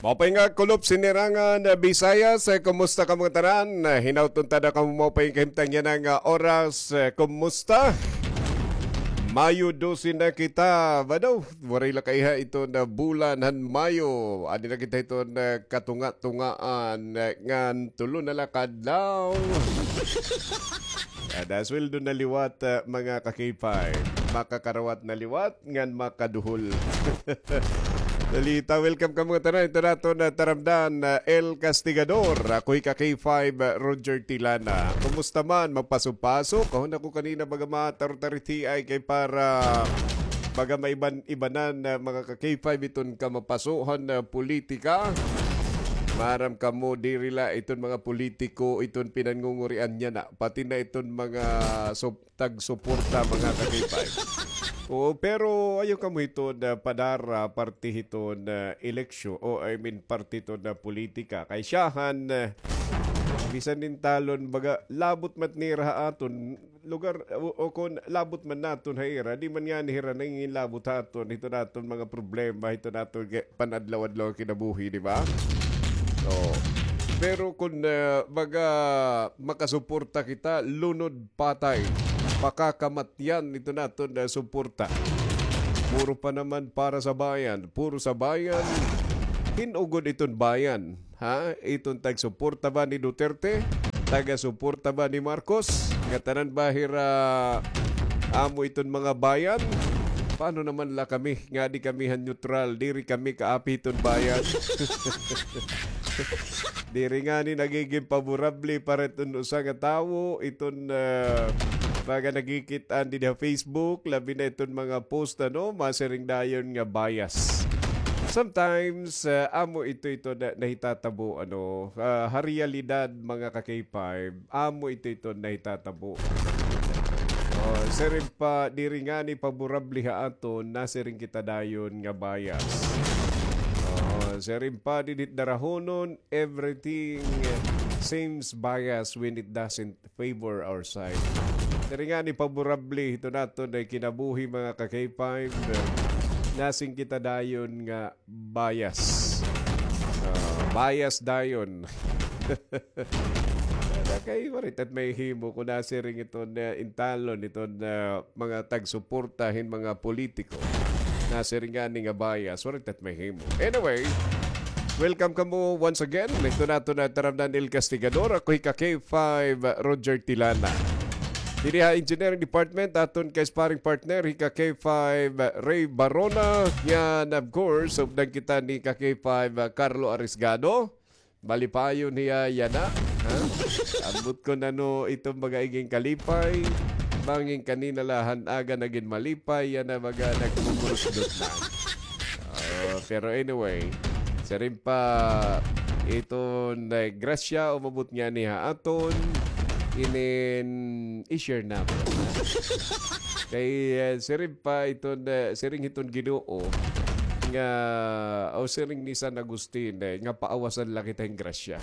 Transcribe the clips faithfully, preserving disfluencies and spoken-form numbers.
Maupay nga kulop sinirangan, ah, Bisayas, eh, kumusta kamo ngatanan? Ah, hinaut unta na kamo maupay nga kahimtang yana nga oras, eh, kumusta? Mayo dose na kita, ba daw? Waray la kaiha iton bulan han Mayo. Adi na kita hiton katunga-tungaan, eh, ngan tulo na la ka adlaw. Kada sweldo na liwat, eh, mga ka-K five. Makakarawat na liwat ngan makaduhol. Salita, welcome kamo ngatanan. Ito na aton taramdan, ah, El Castigador. Ako hi ka-K five, ah, Roger Tilana. Kumusta man? Magpasok-pasok? Kahon ako kanina baga matarutari ti ay kay para baga maiban-ibanan, ah, mga ka-K five iton kamapasohan, ah, politika. Maaram kamo, diri la iton mga politiko, iton pinangungurian niya na. Pati na iton mga so, tagsuporta, mga ka-K five. Oo, pero ayaw kamo hiton, ah, padara parte hiton, ah, eleksyon, o I mean, parte hiton, ah, politika. Kay siyahan, ah, bisan intalon, baga, labot man nira ha aton lugar, o, o kon labot man naton ha ira, di man ngani hira nanginginlabot ha aton, hiton aton mga problema, hiton aton ge-, pan-adlaw-adlaw nga kinabuhi, di ba? Oo. Pero kon, ah, baga, makasuporta kita, lunod patay. Pakakamatyan iton aton, ah, suporta. Puro pa naman para sa bayan, puro sa bayan. Hin-o gud iton bayan, ha? Iton tagsuporta ba ni Duterte? Taga-suporta ba ni Marcos? Ngatanan ba hira amo iton mga bayan? Paano naman la kami? Nga di kami han neutral, diri kami kaapi hiton bayan. Diri ngani nagigin paborable para iton usa nga tawo, iton, ah, mga nakikit-an didi ha Facebook, labi na iton mga post, ano, masiring dayon nga bias. Sometimes, ah, amo ito, ito na, nahitatabo, ano, ah, ha realidad, mga ka-K five, amo ito, ito nahitatabo. Oh, siring pa, diri ngani paborable ha aton, nasiring kita dayon nga bias. Oh, siring pa, didit darahonon, everything seems biased when it doesn't favor our side. Diri ngani paborable hiton aton nga kinabuhi, mga ka-K five, nasiring kita dayon nga bias. Ah, bias dayon. Kay waray ta mahihimo kon nasiring iton, ah, intalon iton, ah, mga tagsuporta hin mga politiko. Nasiring ngani nga bias, waray ta mahihimo. Anyway, welcome kamo once again. Ito na, ito na, taramdan, El Castigador. Ako hi ka-K five, Roger Tilana. Didi ha Engineering Department, aton ka-sparring partner, hi ka-K five, Ray Barona. Yan, of course, updan kita ni ka-K five, Carlo Arisgado. Malipayon hiya yana, ha? Ambot kon ano iton mga igin kalipay. Bangin kanina la han aga nagin malipay, yana mga nagmumurusdot na. Ah, pero anyway, siring pa iton, eh, grasya umabot ngani ha aton, inin i-share namon, ha? Kay, eh, siring pa iton, eh, siring hiton Ginoo nga, o siring ni San Agustin, eh, nga paawasan la kita hin grasya.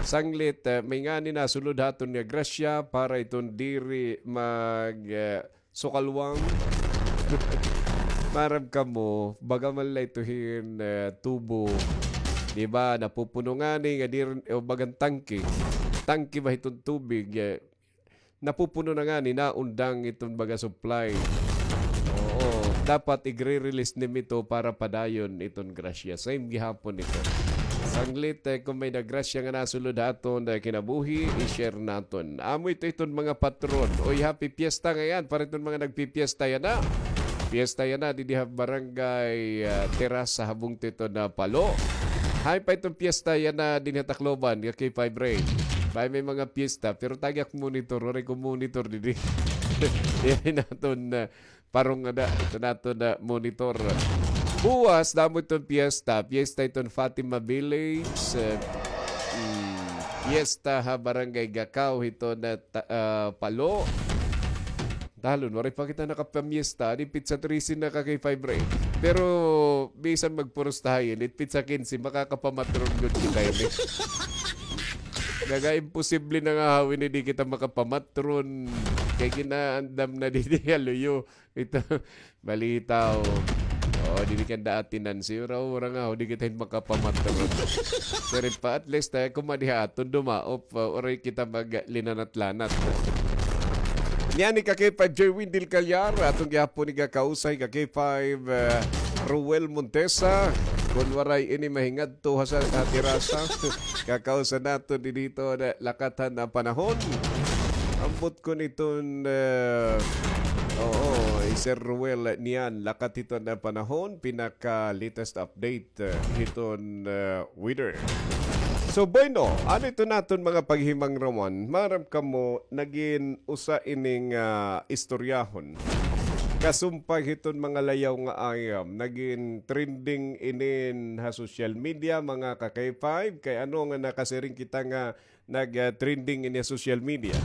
Sanglit, eh, may ngani nasulod ha aton nga grasya para iton diri mag, eh, sukalwang. Maaram kamo, baga man la ito hin, eh, tubo. Di ba, napupuno ngani nga diri, o bagan tangke. Tangke ba hiton tubig, eh, napupuno na ngani, naundang iton baga supply. Oo, dapat igre-release nim ito para padayon iton grasya. Same gihapon ito. Sanglit, eh, kon may nagrasya nga nasulod ha aton, eh, kinabuhi, i-share naton. Amo ito iton mga patron. Oy, happy fiesta ngayan para iton mga nagpipiesta yana. Fiesta yana didi ha barangay, ah, Terasa, ha bungto iton Palo. Hain pa iton fiesta yana dinhi ha Tacloban, ka-K five Ray. May, may mga fiesta, pero tagi ak monitor, waray ko monitor didi. Diri naton, ah, parong ada, ito naton, ah, monitor. Buwas, damo iton fiesta, fiesta iton Fatima Village, ah, mm, fiesta ha barangay Gacao, iton, ah, ta-, ah, Palo. Talon, waray pa kita nakapamiesta. Di pitsa trese na, ka-K five Ray. Pero, bisan magpurustaha ini, pitsa kinse, makakapamatron gud kita ini. Naga-imposible na nga ha ini, di kita makapamatron. Kay ginaandam na didi ha luyo. Ito, balitaw. O, diri ka da atinan, sira, ura nga, o, di kita hin makapamatron. Pero pa, at least, eh, kumadiha aton dumaop, ah, uray kita maglinanat-lanat. Niyan ni ka K five J Windel Calyar, aton gihapon ni kakausay ka K five, eh, Ruel Montesa, kun waray ini mahingadto ha sa, ha terasa, kakausan naton dinhi hiton, eh, lakat han panahon. Ambot kun iton, eh, oo, hi Sir Ruel niyan, lakat hiton panahon, pinaka-latest update, eh, hiton, eh, weather. So, bueno, ano iton aton mga paghimangrawan? Maaram kamo, nagin usa ining, ah, istoryahon. Kasumpay hiton mga layaw nga ayam, nagin trending inin ha social media, mga ka-K five, kay ano nga nakasiring kita nga nag, ah, trending ini ha social media.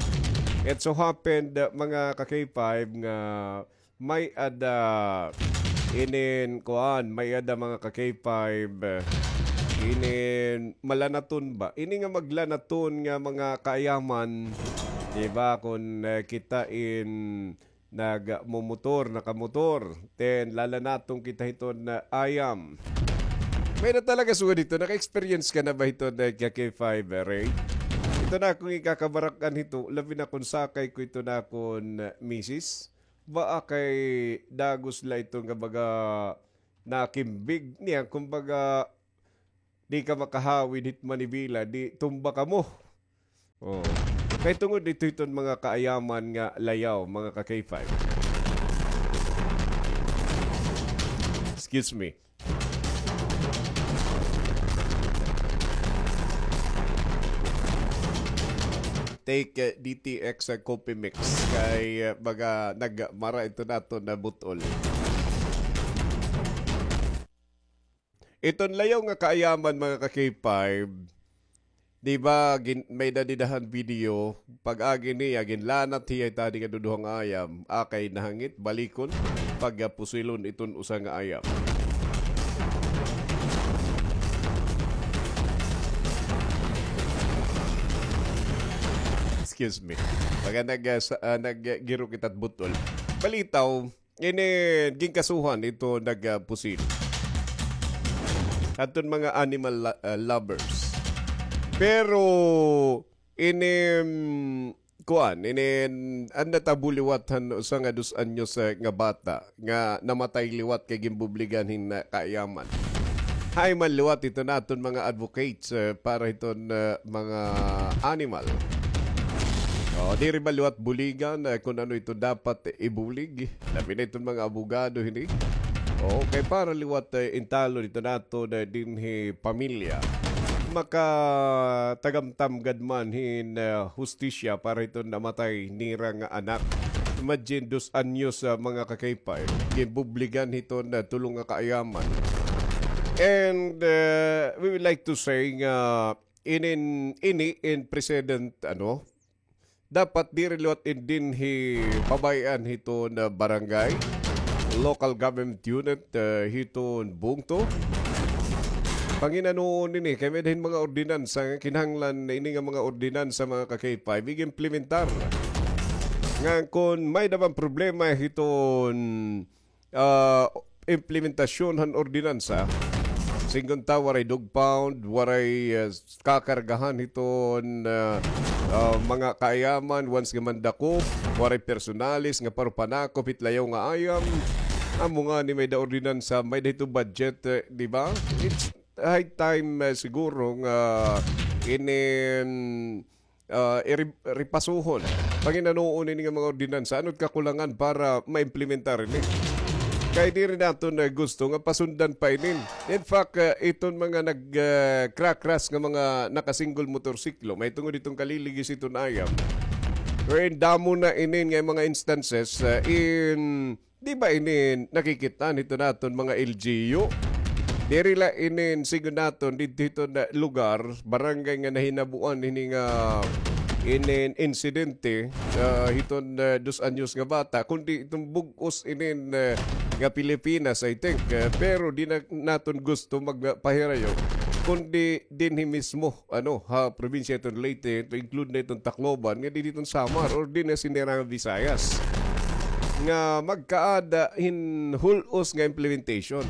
It so happened, ah, mga ka-K five, nga may-ada inin kuan, may-ada mga ka-K five, ah, inin malanaton ba? Ini nga maglanaton nga mga kaayaman, di ba? Kun, ah, kita in nagmumotor, nakamotor. Then, lalanaton kita hiton ayam. May-ada talaga sugad hito. Naka-experience ka na ba hiton, ah, ka-K five, ah, Ray? Ito na akong ikakabarak-an hito, labi na kun sakay ko ito na akon, ah, misis. Baa kay dagos la ito nga baga nakimbig niya, kumbaga, di ka makahawid hit manibela, di tumba kamo. Oh. Kay tungod ito hiton mga kaayaman nga layaw, mga ka-K five. Excuse me. Take, uh, D T X, uh, coffee mix. Kay, uh, baga nagmara ito naton nga but-ol. Iton layaw nga kaayaman, mga ka-K five, di ba, gin-, may-ada dida han video, pag-agi niya, ginlanat hiya it adi nga duduha nga ayam, akay nahangit, balikon, pagpusilon iton usa nga ayam. Excuse me. Baga nag-, ah, sa-, ah, naggiro kita hit but-ol. Balitaw, ini ginkasuhan ito nagpusil. Aton mga animal lo-, ah, lovers. Pero, ini, mm, kuan, ini, an natabo liwat han usa nga dos anyos, eh, nga bata nga namatay liwat kay ginbubligan hin, ah, kaayaman. Hay man liwat ito naton mga advocates, eh, para hiton, eh, mga animal. O, diri ba liwat buligan, eh, kun ano ito dapat ibulig? Labi na iton mga abogado hini. O, kay para liwat, eh, intalon ito naton dinhi pamilya. Makatagamtam gad man hin, eh, hustisya para hiton namatay nira nga anak. Imagine, dos anyos, ah, mga ka-K five, ginbubligan hiton, ah, tulo nga kaayaman. And, eh, we would like to say nga inin, ini in precedent, ano, dapat diri liwat in dinhi pabay-an hiton barangay, local government unit, eh, hiton bungto. Panginanoon ini, kay may-ada hin mga ordinansa nga kinahanglan ini nga mga ordinansa, mga ka-K five, ig-implementar. Ngan kun may-ada man problema hiton ah, implementasyon han ordinansa. Singgon ta, waray dog pound, waray, ah, kakargahan hiton, ah, ah, mga kaayaman, once nga mandakop, waray personalis nga parupanakop hit layaw nga ayam. Amo ngani may-ada ordinansa, may-ada hito budget, eh, di ba? It's high time, eh, siguro nga inin ah, iri-, ripasuhon. Panginanoon ini nga mga ordinansa, ano it kakulangan para maimplementar ini? Kay diri naton, ah, gusto nga pasundan pa ini. In fact, ah, iton mga nag, ah, krakras nga mga naka-single motorsiklo, mahitungod iton kaliligis iton ayam. Wherein damo na ini nga mga instances, ah, in Di ba ini nakikit-an hito naton mga L G U? Diri la ini, sigon naton, didto hiton lugar, barangay nga nahinabuan hini nga inin insidente, ah, hiton, ah, dos anyos nga bata, kundi iton bug-os inin, ah, nga Pilipinas, I think. Ah, pero di na naton gusto magpahirayo, kundi dinhi mismo ano, ha probinsya iton Leyte, to include na iton Tacloban, nga dinhi iton Samar, or dinhi ha sinira nga Visayas. nga magkaada hin hul-os nga implementation.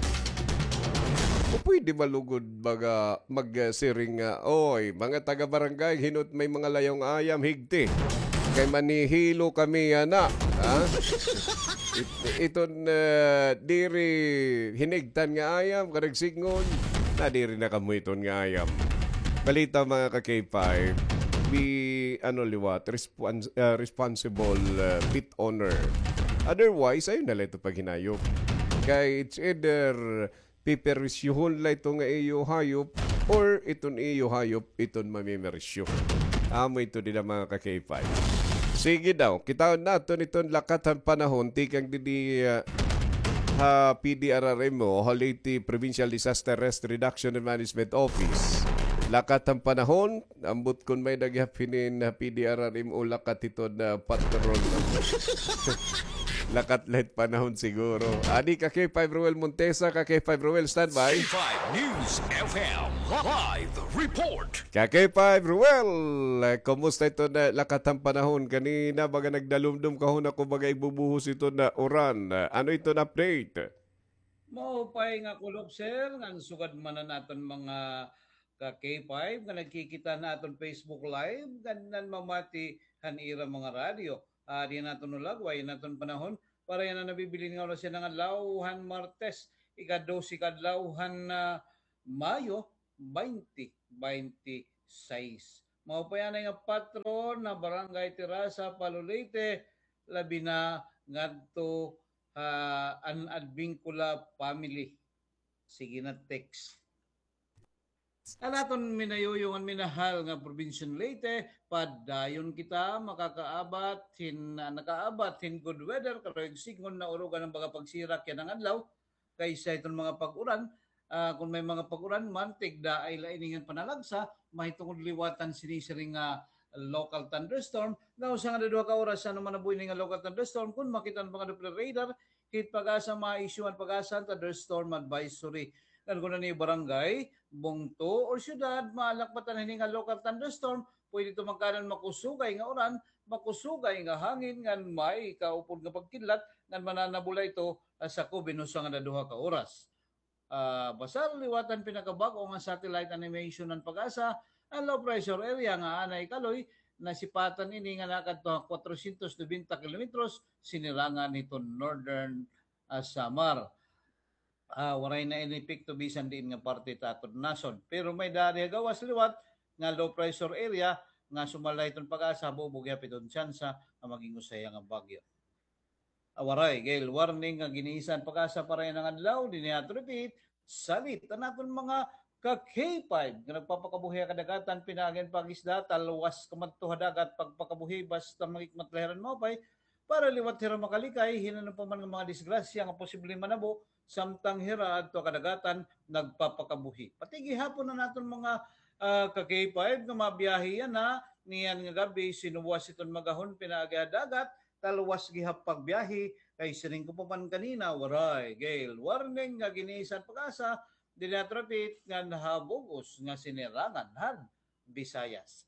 O pwede ba lugod baga magsiring nga, "Oy, mga taga-barangay, hino't may mga layaw nga ayam, higti. Kay manihilo kami yana." Ha? It-, iton, ah, diri hinigtan nga ayam, karag sidngon, nadiri na kamo iton nga ayam. Balita, mga ka-K five, be, ano liwat, respons-, ah, responsible, ah, pet owner. Otherwise, ayaw na la ito paghinayop. Kay it's either piperisyohon la ito nga iyo hayop or iton iyo hayop iton mamimerisyo. Amo ito dida, mga ka-K five. Sige daw, kitaon naton iton lakat han panahon tikang didi, ah, ha P D R R M o ha Leyte Provincial Disaster Risk Reduction and Management Office. Lakat han panahon, ambot kon may-ada gihap hinin ha P D R R M o lakat hiton, ah, patron. Lakat la hit panahon siguro. Adi ka-K five Roel Montesa, ka-K five Roel, standby. K five News F M live report. Ka-K five Roel, eh, kumusta iton, ah, lakat han panahon? Kanina baga nagdalumdom ka, huna ko baga igbubuhos iton, ah, uran. Ah, ano iton update? Maupay nga kulop, sir, ngan sugad man an aton mga ka-K five nga nagkikita han aton Facebook Live, ngan nanmamati han ira mga radyo. Adi an aton hulagway han aton panahon para yana nabibilin nga oras yana nga adlaw han Martes, ika-dose ka adlaw han, ah, Mayo, twenty twenty-six. Maupay anay nga patron na Barangay Terasa, Palo, Leyte, labi na ngadto ha an Advincula family. Sige na, text. An aton minayuyong ngan minahal nga probinsya han Leyte, padayon kita makakaabat hin, nakaabat hin good weather, karuyag sidngon, naurugan an baga pagsirak yana nga adlaw kaysa hiton mga pag-uran. Ah, kon may mga pag-uran man, tigdaay la ini ngan panalagsa, mahitungod liwat han sinisiring nga local thunderstorm. Nga usa nga duha ka oras, ano man nabuhi ini nga local thunderstorm, kon makita han mga Doppler radar, hit PAGASA, ma-issue an PAGASA han thunderstorm advisory. Ngan kon an iyo barangay, bungto, or syudad, maalakbatan hini nga local thunderstorm, pwede ito magkaada hin makusugay nga uran, makusugay nga hangin, ngan may kaupod nga pagkidlat, ngan mananabo la ito, ah, sakob hin usa ngan duha ka oras. Ah, basar liwat han pinakabag-o nga satellite animation han PAGASA, an low pressure area nga anay kaloy, nasipatan ini nga nakadto ha kwatrosyentos nobenta kilometros sinirangan hiton northern, ah, Samar. Ah, waray na ini epekto bisan diin nga parte ta aton nasod. Pero may-ada didi ha gawas liwat nga low pressure area nga sumala hiton PAGASA, bubo gihap iton tsansa nga maging usa hiya nga bagyo. Ah, waray gale warning nga gin-iisa han PAGASA para yana nga adlaw. Dinhi aton repeat, salit an aton mga ka-K five nga nagpapakabuhi ha kadagatan, pinaagi han pag-isda, talwas kamadto ha dagat, pagpakabuhi, basta makikmat la hira hin maupay, para liwat hira makalikay hin ano pa man nga mga disgrasya nga posible manabo samtang hira adto ha kadagatan nagpapakabuhi. Pati gihapon an aton mga, ah, ka-K five nga mabiyahe yana, niyan nga gab-i, sinuwas iton magahon pinaagi ha dagat, talwas gihap pagbiyahe, kay siring ko pa man kanina, waray gale warning nga gin-iisa han PAGASA, dinhi aton repeat, ngan ha bug-os nga sinirangan han Visayas.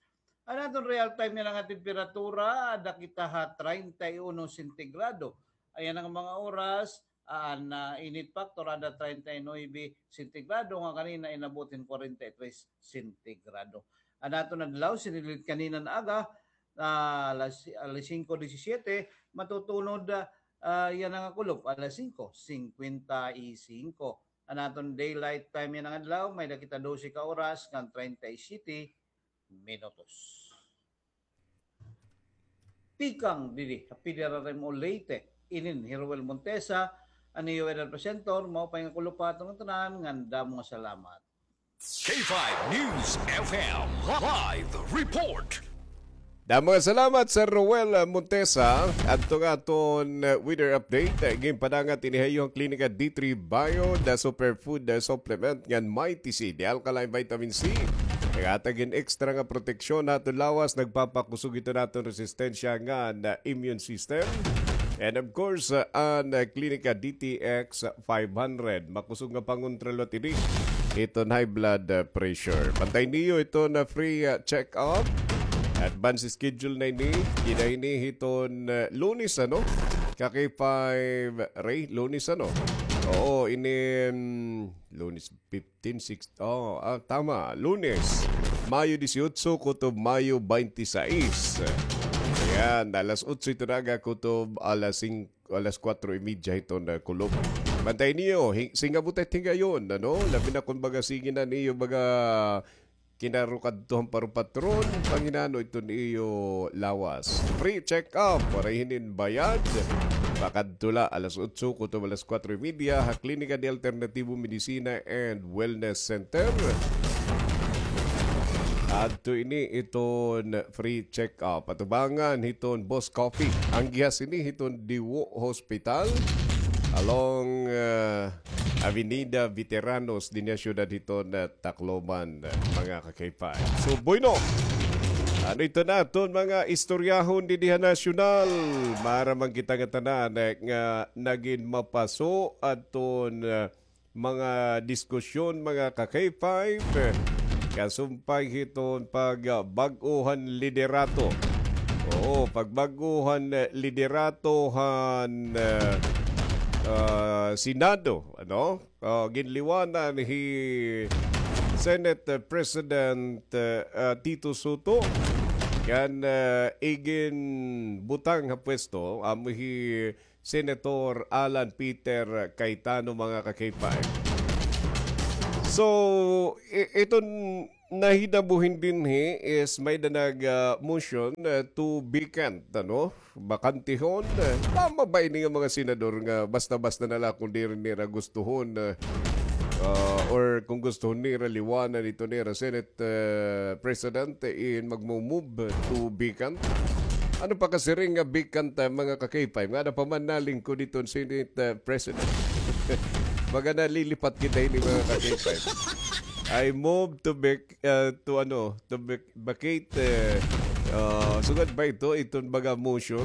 An aton real time yana nga temperatura, ada kita ha treinta y uno sentigrado. Yana nga mga oras, an, ah, init factor, ada treinta y nuebe sentigrado, nga kanina inabot hin kwarenta y tres sentigrado. An aton adlaw, sinirit kanina nga aga, ah, alas, alas singko disisiyete, matutunod, ah, yana nga kulop, alas singko singkwenta y singko. An aton daylight time yana nga adlaw, may-ada kita dose ka oras ngan treinta y siete minutos. Tikang didi ha P D R R M o Leyte, inin hi Roel Montesa, an iyo weather presenter. Maupay nga kulop ha aton ngatanan, ngan damo nga salamat. K five News F M live report. Damo nga salamat, Sir Roel Montesa. Adto nga aton, uh, weather update, uh, ginpadangat ini ha iyo han Klinika D three Bio, the superfood, uh, supplement ngan Mighty C, the alkaline vitamin C. Naghatag hin extra nga proteksyon ha aton lawas, nagpapakusog ito ha aton resistensya ngan, uh, immune system. And of course, uh, an, uh, Klinika D T X five hundred. Makusog nga pangontra liwat ini hiton high blood, uh, pressure. Bantay niyo iton, uh, free, uh, check-up. Advance schedule na ini. Dida ini hiton, uh, Lunes, ano? Ka K five Ray, Lunes ano? Oo, inin Lunes fifteen, six, oh, ah, tama, Lunes, Mayo dieciocho kutob Mayo veintiséis. Ayan, alas otso ito na aga kutob alas singko, alas kuwatro y media hiton, ah, kulop. Bantay niyo, hi-, singabutet higayon, ano? Labi na kon baga sige na niyo baga kinarukadto han parupatron, panghinano iton iyo lawas. Free check-up, waray hinin bayad. Pakadto la alas otso kutob alas kuwatro y media ha Klinika de Alternativo Medicina and Wellness Center. Adto ini iton free check-up. Atubangan hiton Boss Coffee. An gihas ini hiton Diwo Hospital along, ah, Avenida Veteranos dinhi ha siyudad hiton, ah, Tacloban, ah, mga ka-K five. So, bueno, ano ito na aton mga istoryahon didi ha nasyonal? Maaram man kita nga tanan, eh, nga nagin mapaso aton, ah, mga diskusyon, mga ka-K five, eh, kasumpay hiton pagbag-o han liderato. Oo, pagbag-o han, eh, liderato han, eh, ah, Senado, ano? Ah, ginliwanan hi Senate President, eh, ah, Tito Sotto ngan, eh, iginbutang ha pwesto amo hi Senator Alan Peter Cayetano, mga ka-K five. So, i-, iton nahinabo hin dinhi is may-ada nag, ah, motion, ah, to vacant, ano? Bakantihon. Ah, tama ba ini nga mga senador nga basta-basta na la kon diri nira gustuhon, ah, ah, or kon gustuhon nira liwanan ito nira Senate, ah, President in magmo-move to vacant? Ano pa kasiring nga vacant, ah, mga ka-K five? Nga ada pa man nalingkod iton Senate, ah, President. Baga nalilipat kita ini, mga ka-K five. I move to vac-, ah, to ano, to vac-, vacate, eh, ah, sugad ba ito, iton baga motion,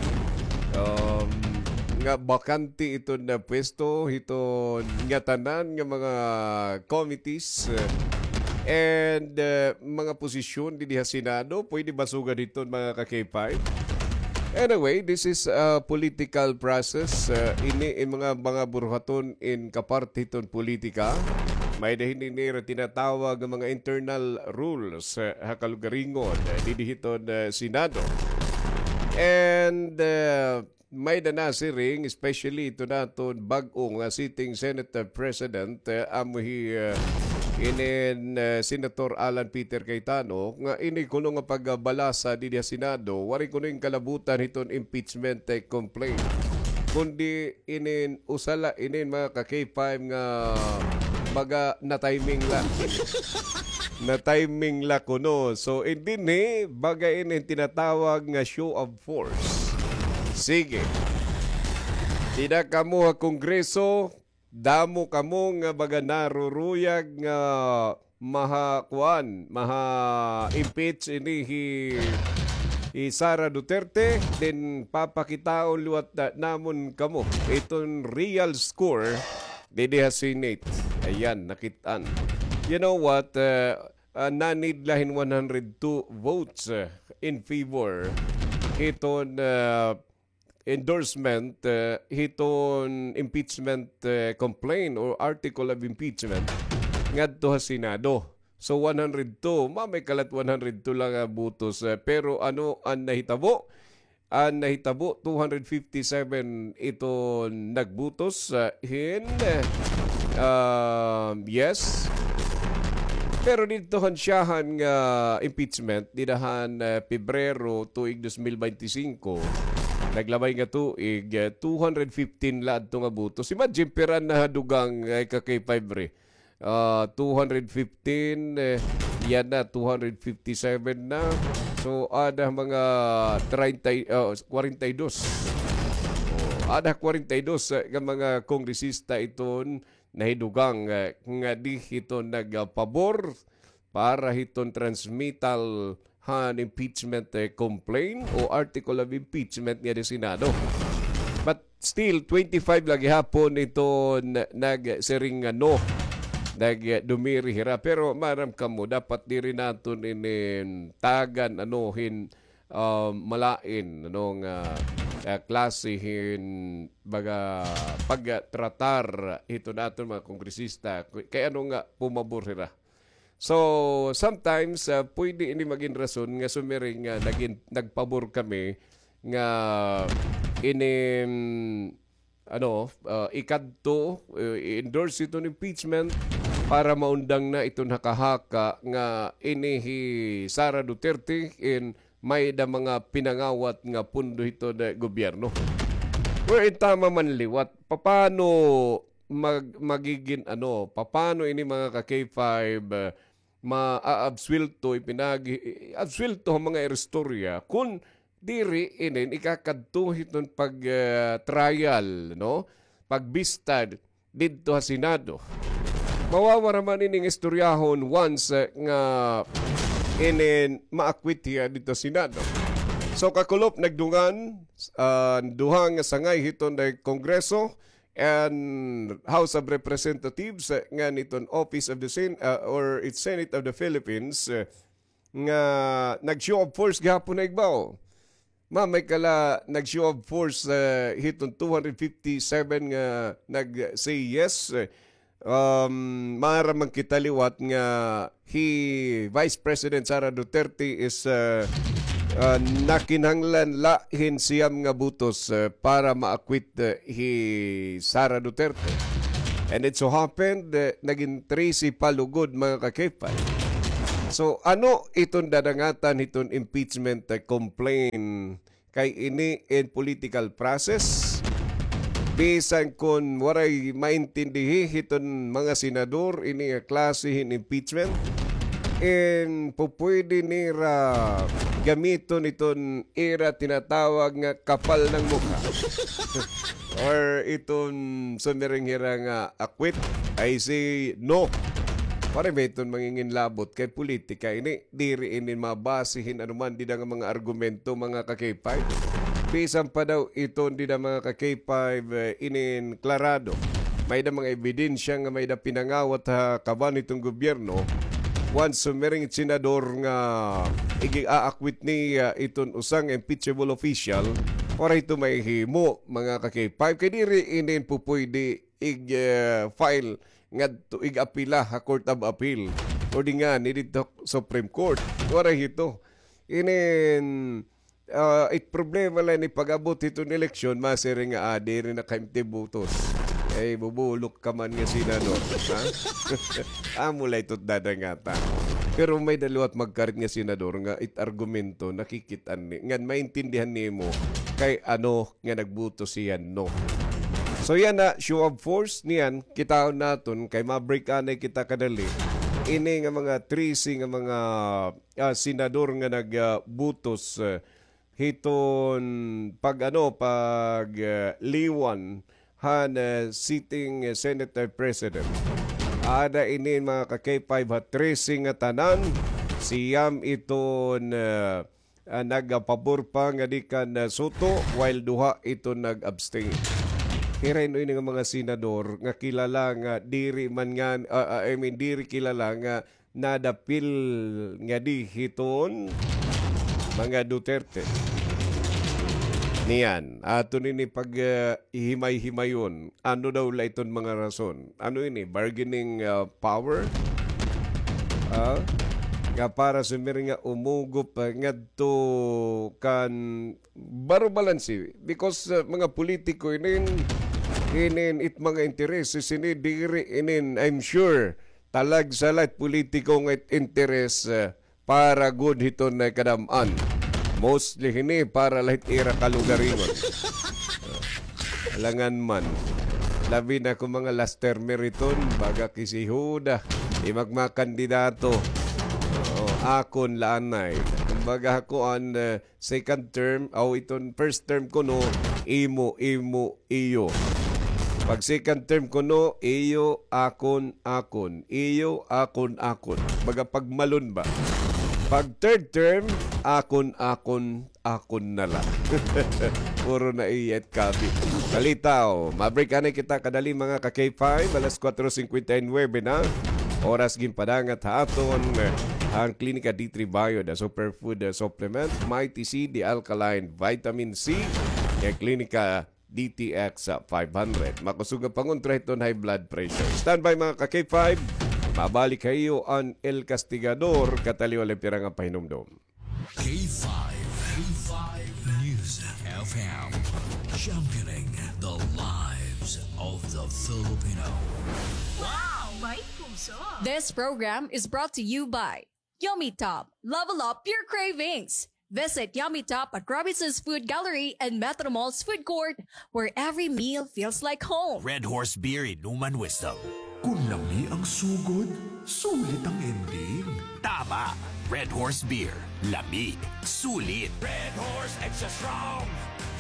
um, nga bakante iton na pwesto, iton ngatanan nga mga committees, eh, and, eh, mga posisyon didi ha Senado, pwede ba sugad iton, mga ka-K five? Anyway, this is a political process. Eh, ini in mga, mga buruhaton in kaparte hiton politika. May-ada hini nira tinatawag nga mga internal rules, eh, ha kalugaringon, eh, didi hiton, eh, Senado. And, eh, may-ada nasiring, especially ito naton bag-o nga sitting Senate President, eh, amo hi, eh, inin, eh, Senator Alan Peter Cayetano, nga ini kuno nga pagbalasa didi ha Senado, waray kuno in kalabutan hiton impeachment, eh, complaint. Kundi inin usa la inin mga ka-K five nga baga na-timing la. Na-timing la kuno. So, in dinhi, baga ini tinatawag nga show of force. Sige. Dida kamo ha Kongreso, damo kamo nga baga naruruyag nga maha-, kuan, maha-impeach ini hi, hi Sara Duterte, then papakitaon liwat na, namon kamo iton real score didi ha Senate. Ayan, nakit-an. You know what? Uh, uh, nanid la hin one hundred two votes, uh, in favor hiton, uh, endorsement, uh, hiton impeachment, uh, complaint or article of impeachment ngadto ha Senado. So, one hundred two, mamay kalat one hundred two la nga botos, uh, pero ano an nahitabo? An nahitabo, two hundred fifty-seven iton nagbotos, uh, hin, uh, yes. Pero didto han syahan nga impeachment, dida han, uh, Pebrero tuig dos mil beintisinko, naglabay nga tuig, uh, two hundred fifteen la adto nga botos. Imagine, pira na ha dugang, uh, ka-K five Ray. Ah, two hundred fifteen, eh, yana, two hundred fifty-seven na. So, ada mga treinta, ah, kwarenta y dos. Oh, ada kwarenta y dos, eh, nga mga kongresista iton nahidugang, eh, nga di hiton nagpabor para hiton transmittal han impeachment, eh, complaint o article of impeachment nga di Senado. But still, twenty-five la gihapon ito na-, nagsiring nga no. Nagdumiri hira. Pero maaram kamo, dapat diri naton inin tagan, ano, hin, um, malain, ano, nga ah, klase hin baga pagtratar hiton aton mga kongresista. Kay ano nga pumabor hira. So, sometimes, ah, pwede ini magin rason nga sumiring nga nagin-, nagpabor kami nga ini, mm, ano, ah, ikadto, eh, i-endorse iton impeachment para maundang na iton haka-haka nga ini hi Sara Duterte in may-ada mga pinangawat nga pondo hiton gobyerno. Wherein tama man liwat, papano mag-, magigin ano, papano ini mga ka-K five, ah, maaabsuwelto, ipinag-, absuwelto an mga iristorya kun diri inin ikakadto hiton pag, ah, trial, no? Pagbista didto ha Senado. Mawawara man ining istoryahon once, eh, nga inin ma-acquit hiya didto ha Senado. So, kakulop, nagdungan, ah, duha nga sangay hiton Kongreso and House of Representatives, eh, ngan hiton Office of the Sen-, ah, or its Senate of the Philippines, eh, nga nag-show of force gihapon ha igbaw. Ma, may kala nag-show of force, eh, hiton two hundred fifty-seven nga nag-say yes. Eh, um, maaram man kita liwat nga hi Vice President Sara Duterte is, eh, eh, nakinahanglan la hin siyam nga botos, eh, para ma-acquit, eh, hi Sara Duterte. And it so happened, eh, nagin trese pa lugod, mga ka-K five. So, ano iton dadangatan hiton impeachment, eh, complaint? Kay ini in political process. Bisan kon waray maintindihi hiton mga senador ini nga klase hin impeachment, in pupwede nira gamiton iton ira tinatawag nga kapal ng mukha. Or iton sumiring hira nga acquit, I say no. Waray ba iton manginginlabot kay politika ini? Diri ini mabase hin anuman dida nga mga argumento, mga ka-K five. Bisan pa daw iton dida, mga ka-K five, eh, inin klarado. May-ada mga ebidensya nga may-ada pinangawat ha kaban hiton gobyerno. Once sumiring it senador nga ig-aakwit niya iton usa nga impeachable official, waray ito mahihimo, mga ka-K five. Kay diri inin pupwede ig, eh, file ngadto, ig-apila ha Court of Appeal or di ngani didto Supreme Court. Waray hito. Inin, ah, it problema la ini pag-abot hiton eleksyon, masiring nga, ah, diri na kaimti botos. Ay, bubulok ka man nga senador, ha? Amo la ito dadangata. Pero may-ada liwat magkarit nga senador nga it argumento, nakikit-an ni, ngan maintindihan nimo kay ano nga nagboto siya no. So yana, show of force niyan, kitaon naton kay ma-break anay kita kadali. Ini nga mga trese nga mga, ah, senador nga nag, ah, botos, ah, hiton pag, ano, pag, ah, liwan han, ah, sitting, ah, Senate President. Ada ini mga ka-K five ha trese nga tanan, siyam iton, ah, ah, nagapabor pa ngadi kan, ah, Soto, while duha iton nag-abstain. Hira ini nga mga senador nga kilala nga diri man nga, ah, ah, I mean, diri kilala nga nadapil ngadi hiton mga Duterte. Niyan, aton ini pag, ah, himay-himayon. Ano daw la iton mga rason? Ano ini? Bargaining, ah, power? Ah? Nga para sumiring nga umugop, ah, ngadto kan baro balanse. Because, ah, mga politiko inin, inin it mga intereses ini diri inin, I'm sure, talagsa la it politiko nga it interes, ah, para gud hiton, ah, kadam-an. Mostly hini para la hit ira kalugaringon. Alangan man. Labi na kon mga last termer iton, baga kisihuda. Di magmakandidato. Oo, akon la anay. Kumbaga ako an, ah, second term, aw iton first term kuno, imo, imo, iyo. Pag second term kuno, iyo, akon, akon. Iyo, akon, akon. Baga pagmalon ba? Pag third term, akon, akon, akon na la. Puro na iya it kabi. Kalitaw, ma-break anay kita kadali, mga ka-K five, alas kuwatro singkwenta y nuwebe na. Oras ginpadangat ha aton, eh, an Klinika D three Bio, the superfood, eh, supplement, Mighty C, the alkaline vitamin C, kay Klinika D T X five hundred. Makusog nga pangontra hiton high blood pressure. Standby, mga ka-K five. Mabalik ha iyo an El Castigador, kataliwan la pira nga pahinumdom. K five, K five News F M, championing the lives of the Filipino. Wow! May puso! This program is brought to you by Yummy Top. Level up your cravings. Visit Yummy Top at Robinson's Food Gallery and Metro Mall's Food Court, where every meal feels like home. Red Horse Beer, inuman wisdom. Kun lami ang sugod, sulit ang ending. Tama! Red Horse Beer. Lami. Sulit. Red Horse Extra Strong.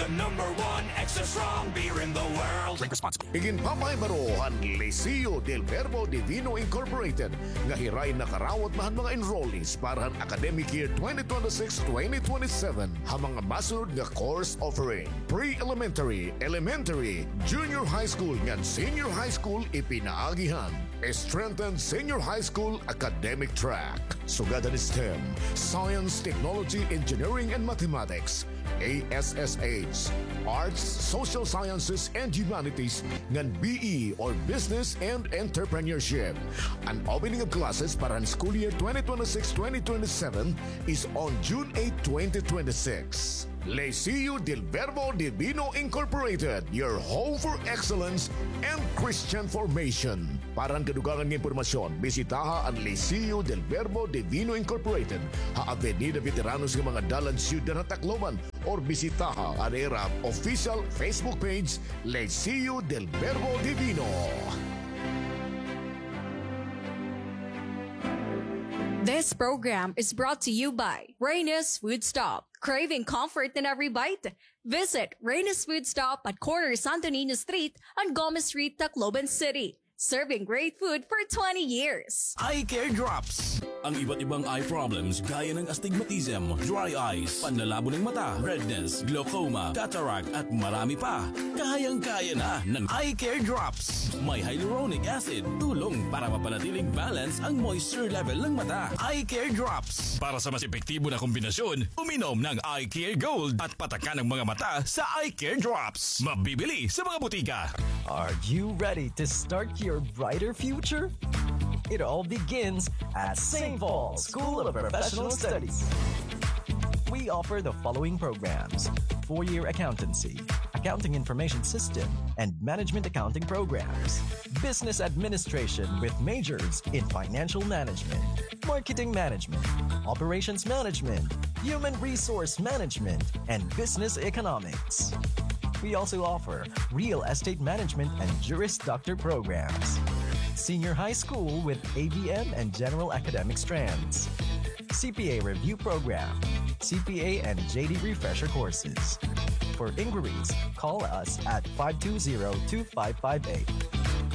The number one extra strong beer in the world. Drink responsibly. Iginpapahibarohan Liceo del Verbo Divino Incorporated nga hirain nakarawat na han mga enrollees para han academic year twenty twenty-six, twenty twenty-seven ha mga masunod nga course offering: pre-elementary, elementary, junior high school ngan senior high school ipinaagi han strengthened senior high school academic track. Sugad han STEM, Science, Technology, Engineering, and Mathematics, A S S H, Arts, Social Sciences, and Humanities, ngan B E or Business and Entrepreneurship. An opening of classes para han school year twenty twenty-six, twenty twenty-seven is on June eight, twenty twenty-six. Liceo del Verbo Divino Incorporated, your home for excellence and Christian formation. Para han kadugangan nga impormasyon, bisitaha an Liceo del Verbo Divino Incorporated ha Avenida Veteranos nga mga dalan, Syudad ha Tacloban, or bisitaha an ira official Facebook page, Liceo del Verbo Divino. This program is brought to you by Reyna's Food Stop. Craving comfort in every bite? Visit Reyna's Food Stop at corner Santo Niño Street and Gomez Street, Tacloban City. Serving great food for twenty years. Eye Care Drops. Ang iba't ibang eye problems gaya ng astigmatism, dry eyes, panlalabo ng mata, redness, glaucoma, cataract, at marami pa. Kayang-kaya na ng Eye Care Drops. May hyaluronic acid, tulong para mapanatiling balance ang moisture level ng mata. Eye Care Drops. Para sa mas epektibo na kombinasyon, uminom ng Eye Care Gold at patakan ang mga mata sa Eye Care Drops. Mabibili sa mga butika. Are you ready to start your brighter future? It all begins at Saint Paul School of Professional Studies. We offer the following programs: four-year accountancy, accounting information system, and management accounting programs, business administration with majors in financial management, marketing management, operations management, human resource management, and business economics. We also offer real estate management and Juris Doctor programs, senior high school with A B M and general academic strands, C P A review program, C P A and J D refresher courses. For inquiries, call us at five two zero two five five eight.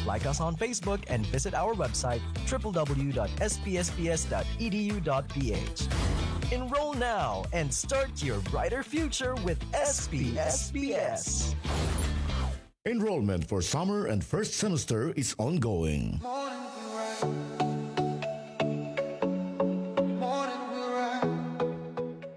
Like us on Facebook and visit our website, triple W dot S P S P S dot E D U dot P H. Enroll now and start your brighter future with S P S P S. Enrollment for summer and first semester is ongoing.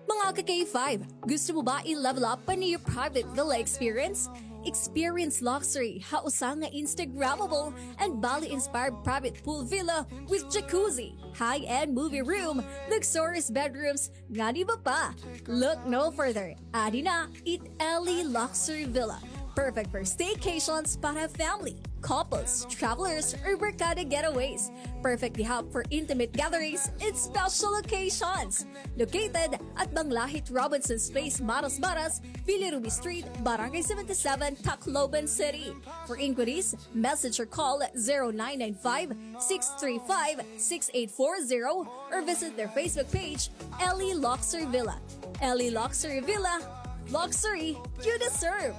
Mga ka-K five, gusto mo ba i-level up pa an iyo private villa experience? Experience luxury ha usa nga Instagrammable and Bali-inspired private pool villa with jacuzzi, high-end movie room, luxurious bedrooms, ngan iba pa. Look no further. Adi na it Ellie Luxury Villa. Perfect for staycations para family, couples, travelers, or barkada getaways. Perfect gihap for intimate gatherings and special occasions. Located at Banglahit Robinson's Place, Maras Maras, Villa Ruby Street, Barangay seventy-seven, Tacloban City. For inquiries, message or call zero nine nine five, six three five, six eight four zero or visit their Facebook page, Ellie Luxury Villa. Ellie Luxury Villa, luxury you deserve.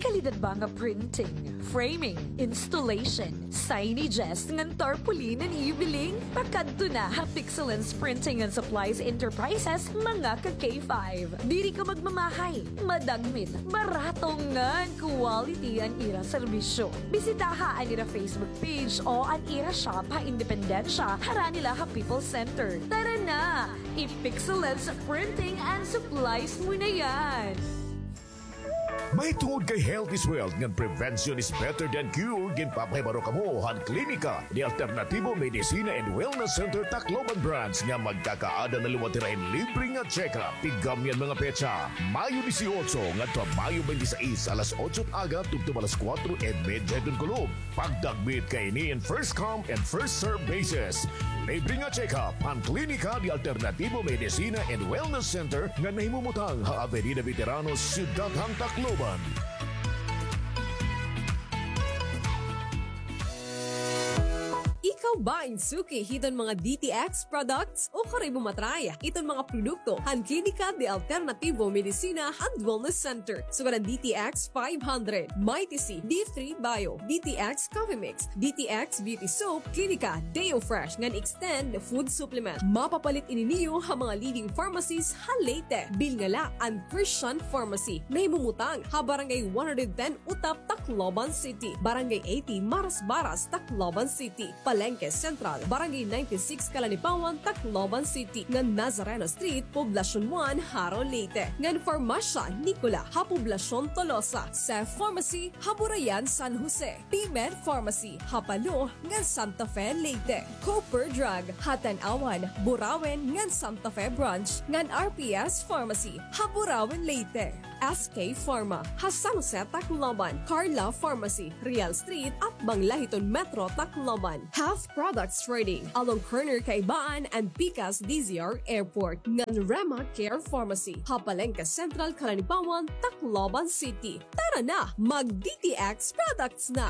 Kalidad ba nga printing, framing, installation, signages ngan tarpaulin an ibiling? Pakadto na ha Pixelens Printing and Supplies Enterprises, mga ka K five. Diri ka magmamahay, madagmit, barato ngan quality an ira serbisyo. Bisitaha an ira Facebook page o an ira shop ha Independencia, harani la ha People's Center. Tara na! I-Pixelens Printing and Supplies mo na yan! Mahitungod kay health is wealth ngan prevention is better than cure, ginpapahibaro kamo han Klinika de Alternativo Medicina and Wellness Center Tacloban Branch nga magkakaada na liwat hira hin libre nga check-up. Tigam niyan mga petsa, Mayo dieciocho ngadto ha Mayo twenty-six, alas otso it aga tubtob alas kuwatro y medya hiton kulop. Pagdagmit kaini in first come and first serve basis. Libre nga check-up han Klinika de Alternativo Medicina and Wellness Center nga nahimumutang ha Avenida Veteranos, Syudad han Tacloban. Ikaw ba in suki hiton mga D T X products? Ukon kay bumatray iton mga produkto han Klinika de Alternativo Medicina and Wellness Center. Sugad an D T X five hundred, Mighty C, D three Bio, D T X Coffee Mix, D T X Beauty Soap, Klinika Deo Fresh ngan Extend Food Supplement. Mapapalit ini niyo ha mga leading pharmacies ha Leyte. Bilnga la an Christian Pharmacy, nahimumutang ha Barangay one hundred ten Utap, Tacloban City, Barangay eighty Marasbaras, Tacloban City, Palengke Central, Barangay ninety-six Calanipawan, Tacloban City, ngan Nazareno Street, Poblacion one, Jaro, Leyte, ngan Farmasya Nicola ha Poblacion Tolosa, Cef Pharmacy ha Burayan, San Jose, P-Med Pharmacy ha Palo ngan Santa Fe, Leyte, Cooper Drug ha Tanauan, Burauen ngan Santa Fe Branch, ngan R P S Pharmacy ha Burauen, Leyte. S K Pharma ha San Jose, Tacloban, Carla Pharmacy, Real Street, atbang la hiton Metro Tacloban, Half Products Trading, along corner Kaibaan and Pikas D Z R Airport, ngan Rema Care Pharmacy ha Palengke Central, Calanipawan, Tacloban City. Tara na, mag D T X products na!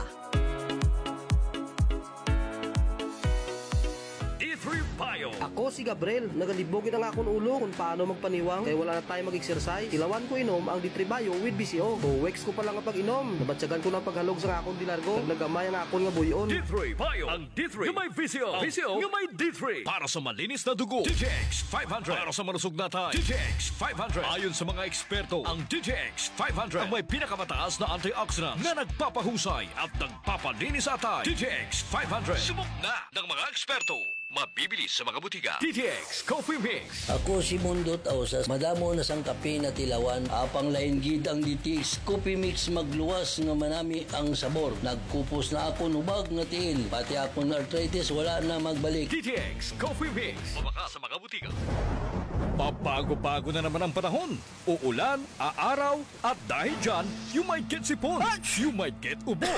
D three Bio. Ako si Gabriel. Nagalibog gid an akon ulo kon paano magpaniwang kay wala na time mag-exercise. Tilawan ko inom ang D three Bio with V C O. Two weeks ko pa la nga pag-inom, nabatyagan ko na an paghalog sa akon de largo. Naglagamay an akon nga buy-on. D three Bio. Ang D three nga may V C O. V C O nga may D three. Para sa malinis na dugo, D T X five hundred. Para sa malusog na atay, D T X five hundred. Ayon sa mga eksperto, ang D T X five hundred ang may pinakamataas na antioxidants na nagpapahusay at nagpapalinis sa atay. D T X five hundred. Subok na ng mga eksperto. Mabibili sa mga butika. D T X Coffee Mix. Ako si Mundot Ausas. Madamo na sang kape natilawan. Apang lain gid ang D T X Coffee Mix, magluwas nga manami ang sabor. Nagkupos na akon hubag nga tiil. Pati akon arthritis wala na magbalik. D T X Coffee Mix. Mabakal sa mga butika. Pabago-bago na naman ang panahon. Uulan, aaraw, at dahil dyan, you might get sipon, you might get ubo,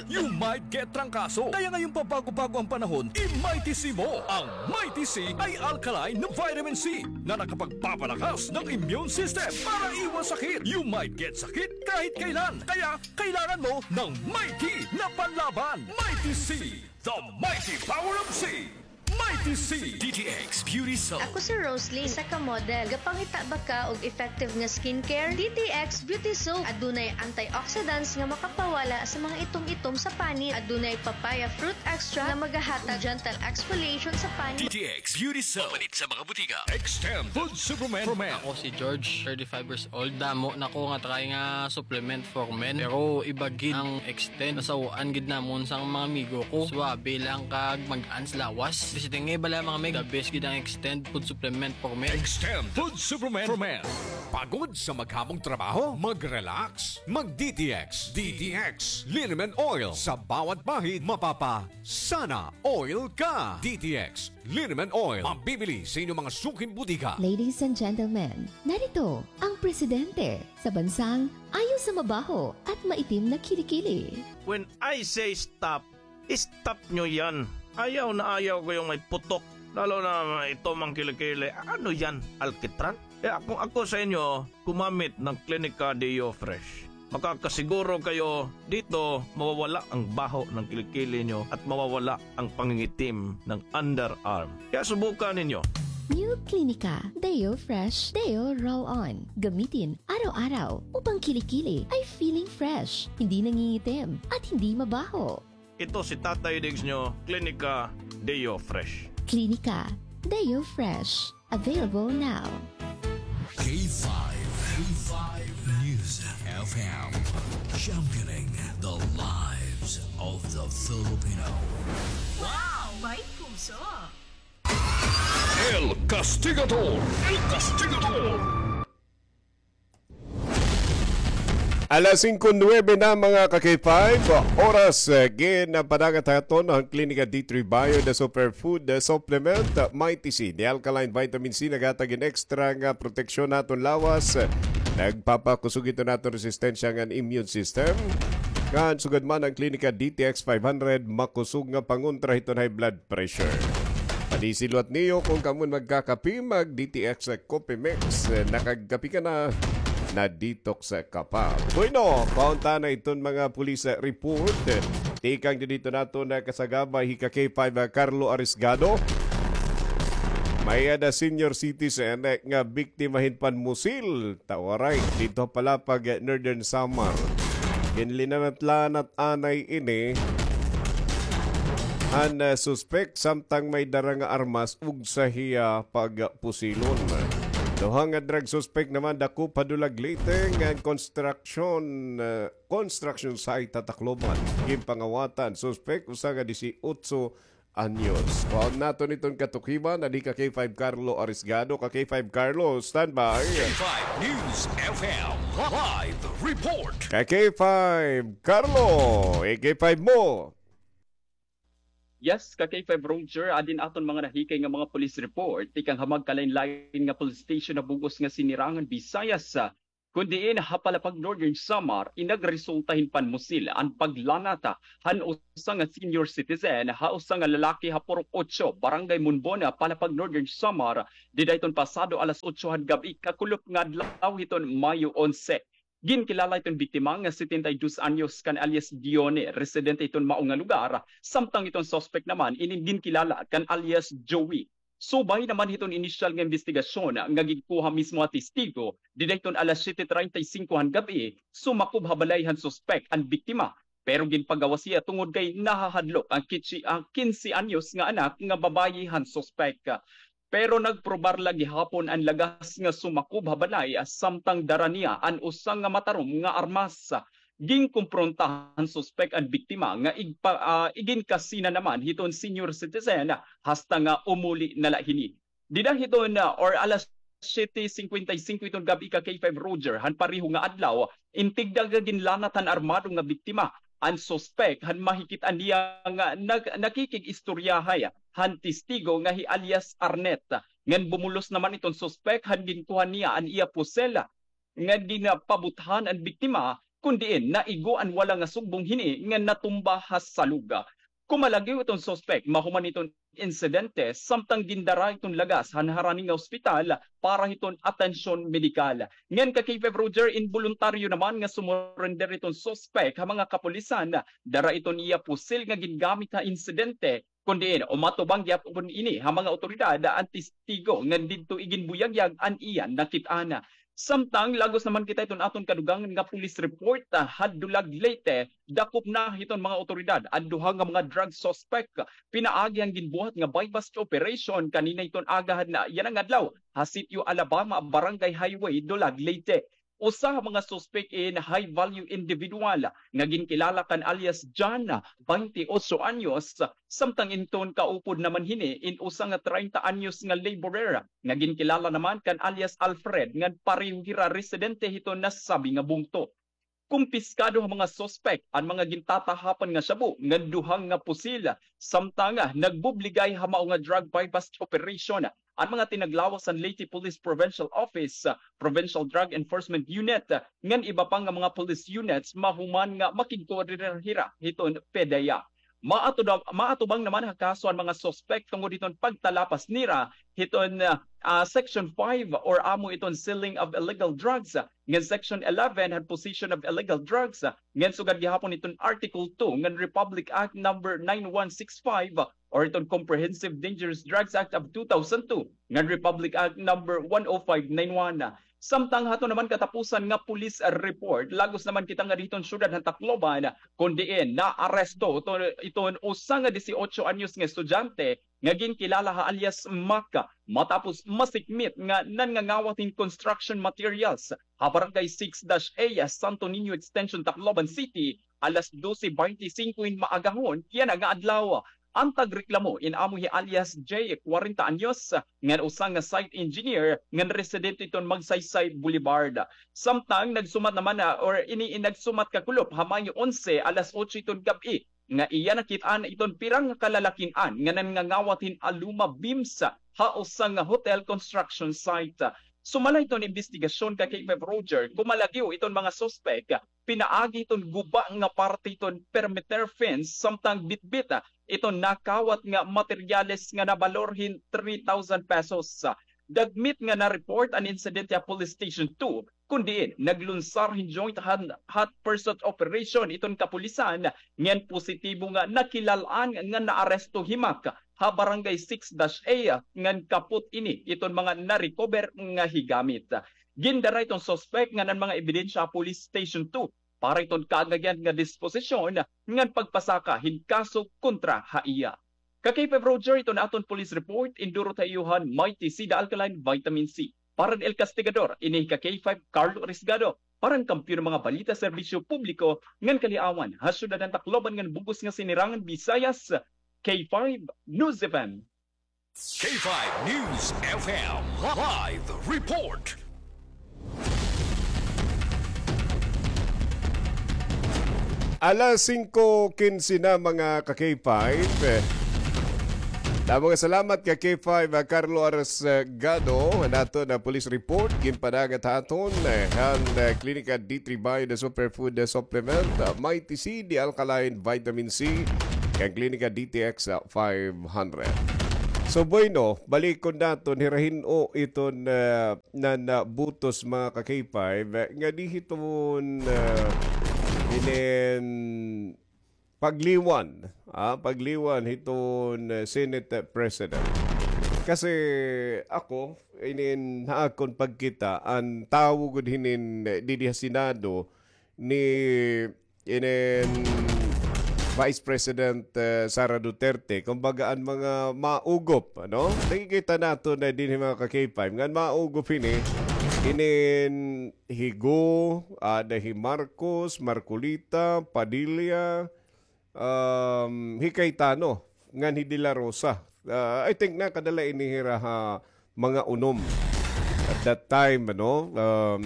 you might get trangkaso. Kaya ngayong pabago-bago ang panahon, i-Mighty C mo. Ang Mighty C ay alkaline na vitamin C na nakapagpapalakas ng immune system para iwas sakit. You might get sakit kahit kailan. Kaya kailangan mo ng Mighty na panlaban. Mighty C, the mighty power of C. Mighty C. D T X Beauty Soap. Ako si Rosalie, isa ka model. Gapangita ba ka og effective nga skincare? D T X Beauty Soap. Adunay antioxidants nga makapawala sa mga itom-itom sa panit. Adunay papaya fruit extract nga magahatag gentle exfoliation sa panit. D T X Beauty Soap. Mapalit sa mga butika. Extend Food Supplement for Men. Ako si George, thirty-five years old. Damo na ko nga try nga supplement for men. Pero iba gid ang Extend. Nasaw-an gid namon sang mga amigo ko. Suabe lang kag mag-an sa lawas. Basta nga bala, mga meg, the best gid ang Extend food supplement for men. Extend food supplement for men. Pagod sa maghamong trabaho? Mag-relax. Mag-D T X. D T X Liniment Oil. Sa bawat bahid, mapapa-sana oil ka. D T X Liniment Oil. Mabibili sa inyong mga suking butika. Ladies and gentlemen, narito ang presidente sa bansang ayaw sa mabaho at maitim na kilikili. When I say stop, stop nyo yan. Ayaw na ayaw ko yung may putok. Lalo na may itom ang kilikili. Ano yan? Alkitran? Kaya kung ako sa inyo, gumamit ng Klinika Deo Fresh. Makakasiguro kayo dito mawawala ang baho ng kilikili nyo at mawawala ang pangingitim ng underarm. Kaya subukan ninyo. New Clinica Deo Fresh Deo Roll-On. Gamitin araw-araw upang kilikili ay feeling fresh, hindi nangingitim, at hindi mabaho. Ito si Tatay Diggs nyo, Klinika Deo Fresh. Klinika Deo Fresh. Available now. K five, K five News F M, championing the lives of the Filipino. Wow! May puso! El Castigador! El Castigador! Alas singko nuwebe na, mga ka-K five, oras, eh, ginpadagat ha aton an Klinika D three Bio, the superfood, the supplement, Mighty C, the alkaline vitamin C, naghatag hin extra nga proteksyon ha aton lawas. Nagpapakusog ito ha aton resistensya ngan immune system. Ngan sugad man an Klinika D T X five hundred, makusog nga pangontra hiton high blood pressure. Panisilot niyo kon kamo magkakape, mag-D T X Coffee Mix. Nakagkape ka na, na-detox ka pa. Bueno, paunta na iton mga police report. Tikang didto naton kasagabay hi ka-K five, ah, Carlo Arisgado. May-ada senior citizen nga biktima hin panmusil. Tawaray, didto ha Palapag, Northern Samar. Ginlinanat-lanat anay ini an, ah, suspek samtang may dara nga armas ug sa hiya pagpusilon. Duha nga drug suspect naman dakop ha Dulag, Leyte, ngan construction, ah, construction site ha Tacloban. Ginpangawatan suspek, usa nga disiotso anyos. Kuhaon naton iton katukiban, adi ka K five Carlo Arisgado. Ka K five Carlo, standby. K five News F M, live report. Ka K five Carlo, eh, K five mo. Yes, ka K five Roger, adin aton mga nahikay nga mga police report, tikang ha magkalain-lain nga police station ha bug-os nga Sinirangan, Visayas, kun diin ha Palapag, Northern Samar, in nagresulta hin panmusil an paglanat han usa nga senior citizen ha usa nga lalaki ha Purok Ocho, Barangay Munbon, Palapag, Northern Samar, dida hiton pasado alas otso han gab-i kakulop nga adlaw hiton Mayo onse. Ginkilala iton biktima nga setenta y dos anyos kan alias Dione, residente hiton mao nga lugar, samtang iton suspect naman inin ginkilala kan alias Joey. Subay naman hiton inisyal nga imbestigasyon nga ginkuha mismo ha testigo, dida hiton alas siyete treinta y cinco han gab-i, sumakob ha balay han suspek an biktima. Pero ginpagawas hiya tungod kay nahahadlok an kitsi-, an kinse anyos nga anak nga babayi han suspek. Pero nagprobar la gihapon an lagas nga sumakob ha balay, samtang dara niya an usa nga matarom nga armas. Ginkompronta han suspek an biktima nga igpa-, ah, iginkasina naman hiton senior citizen hasta nga umuli na la hini. Dida hiton, ah, or alas siyete cincuenta y cinco hiton gab-i ka K five Roger, han pareho nga adlaw, in tigda nga ginlanat han armado nga biktima an suspek han mahikit-an niya nga nag-, nakikig-istoryahay han testigo nga hi alias Arnet. Ngan bumulos naman iton suspek han ginkuha niya an iya pusel nga ginpabuthan an biktima, kun diin naigo an wala nga sugbong hini nga natumba ha salog. Kumalagyo iton suspek mahuman iton insidente, samtang gindara iton lagas han harani nga ospital para hiton atensyon medikal. Ngan ka K five Roger, inboluntaryo naman nga sumurender iton suspek ha mga kapulisan. Dara iton iya pusil nga gingamit ha insidente, kun diin umatubang gihapon ini ha mga awtoridad an testigo nga didto iginbuyagyag an iya nakit-an. Samtang lagos naman kita iton aton kadugangan nga police report, ah, ha Dulag, Leyte, dakop na hiton mga awtoridad an duha nga mga drug suspect pinaagi han ginbuhat nga buy-bust operation kanina hiton agahan yana nga adlaw ha Sitio Alabama, Barangay Highway, Dulag, Leyte. Usa ha mga suspek in high-value individual nga ginkilala kan alias John, baynte otso anyos, samtang inton kaupod naman hini in usa nga treinta anyos nga laborer nga ginkilala naman kan alias Alfred, ngan pareho hira residente hiton nasabi nga bungto. Kumpiskado ha mga suspek an mga gintatahapan nga shabu ngan duha nga pusil, samtang nagbubligay ha mao nga drug buy-bust operation an mga tinaglawas han Leyte Police Provincial Office, Provincial Drug Enforcement Unit, ngan iba pa nga mga police units mahuman nga makigkoordinar hira hiton PDEA. Maatuda-, maatubang naman ha kaso an mga suspek tungod hiton pagtalapas nira hiton, ah, ah, Section five or amo iton selling of illegal drugs. Ngan Section eleven han possession of illegal drugs. Ngan sugad gihapon iton Article two ngan Republic Act number nine one six five or iton Comprehensive Dangerous Drugs Act of two thousand two ngan Republic Act number one oh five nine one. Samtang hato naman katapusan nga police report, lagos naman kita nga diton syudad han Tacloban, kun diin naaresto to, iton usa nga dieciocho anyos nga estudyante nga ginkilala ha alias Mac, matapos masikmit nga nangangawat hin construction materials ha Barangay six dash A, Santo Niño Extension, Tacloban City, alas dose beintisinko hin maagahon yana nga adlaw. An tagreklamo in amo hi alias J, kwarenta anyos, ngan usa nga site engineer ngan residente iton Magsaysay Boulevard. Samtang nagsumat naman na, or ini, nagsumat kakulop ha Mayo onse, alas otso iton gab-i, nga iya nakit-an iton pira nga kalalakin-an nga nangangawat hin aluma beams ha usa nga hotel construction site. Sumala iton imbestigasyon ka K five Roger, kumalagyo iton mga suspek pinaagi iton guba nga parte iton perimeter fence samtang bitbit iton nakawat nga materyales nga nabalor hin three thousand pesos. Dagmit nga na-report an insidente ha Police Station two, kun diin naglunsar hin joint han-, hot pursuit operation iton kapulisan, ngan positibo nga nakilal-an nga naaresto hi Mac ha Barangay six dash A, ngan kapot ini iton mga na-recover nga higamit. Gindara iton suspek ngan an mga ebidensya ha Police Station two para iton kaanggayan nga disposisyon ngan pagpasaka hin kaso kontra ha iya. Ka K five Roger, iton aton police report, indurot ha iyo han Mighty C, the alkaline vitamin C. Para han El Castigador, ini hi ka K five, Carlo Risgado. Para han kampiyon nga mga balita, serbisyo publiko ngan kaliawan ha syudad han Tacloban ngan bug-os nga sinirangan Visayas, K five News F M. K five News F M live report. Alas singko kinse na, mga ka-K five. Damo nga salamat ka K five, ah, Carlo Aras, ah, Gado, naton na police report, ginpadagat ha aton, eh, han, eh, Klinika D three Bio, the superfood, the supplement, ah, Mighty C, the alkaline vitamin C, kan Klinika D T X, ah, five hundred. So, bueno, balikon naton, hira hin-o iton, ah, nan, ah, butos, mga ka-K five, eh, nga di hiton, ah, inin pagliwan, ah, pagliwan hiton, eh, Senate President. Kasi ako, inin ha akon pagkita, an tawo gud hinin, eh, didi ha Senado ni inin Vice President, eh, Sara Duterte, kumbaga an mga maugop, ano? Nakikita naton na dinhi, mga ka-K five, nga an maugop hini, inin hi Go, ada hi Marcos, Marcoleta, Padilla, um, hi Cayetano, ngan hi De La Rosa. Ah, I think nakadala ini hira ha mga unom at that time, ano? Um,